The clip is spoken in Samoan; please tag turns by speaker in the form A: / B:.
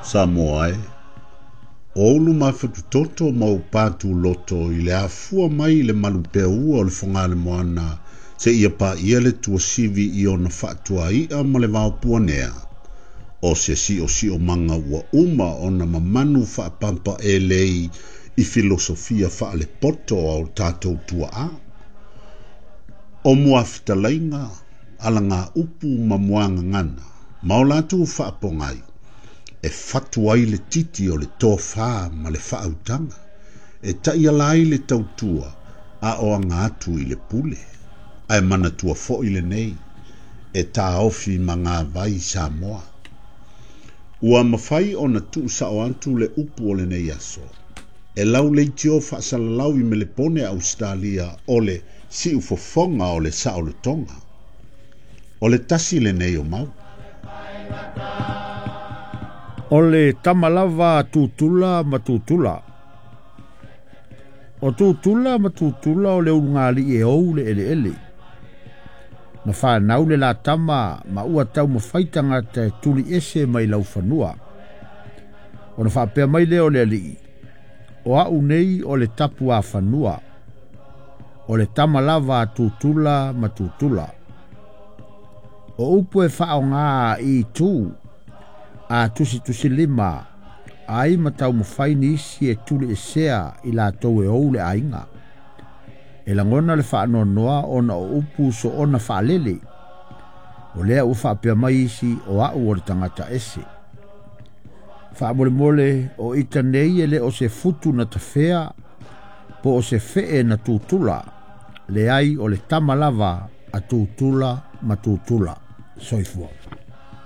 A: Samoa e, o ou lumafatutoto ma ou patuloto i le afua mai i le malupeaua o le Fogaalemoana seia paia le tuasivi i ona faatuai'a ma le vaopuanea, o se siosiomaga ua uma ona mamanu faapampaelei i filosofia faalepoto a o tatou tuaa. O muafetalaiga, alagaupu ma muagagana, ma o latou faapogai, e fatu ai le titi o le tofā ma le faautaga, e taiala ai le tautua a o aga atu i le pule. Ae manatua foi lenei, e taofi magavai Samoa. Ua mafai ona tuusao atu le upu o lenei aso, e lau leitio faasalalau i Melepone Ausetalia o le siufofoga o le saolotoga. O le tasi lenei o mau.
B: O le tama lava a Tutula ma Tutula. O Tutula ma Tutula o le ulugalii e ou le eleele. Na fanau le la tama ma ua taumafai tagata e tuli ese mai laufanua. Ona faapea mai lea o le alii, o au nei o le tapuafanua, o le tama lava a Tutula ma Tutula. O upu e faaaoga i itu a tusitusilima ai ma taumafai nisi e tuliesea i latou e ou le aiga. E lagona le faanoanoa ona o upu soona faalele. O lea ua faapea mai isi o au o le tagata ese. Faamolemole o ita nei e le o se futu na tafea po o se fee na tutula. Leai o le tama lava a Tutula ma Tutula. Soifua.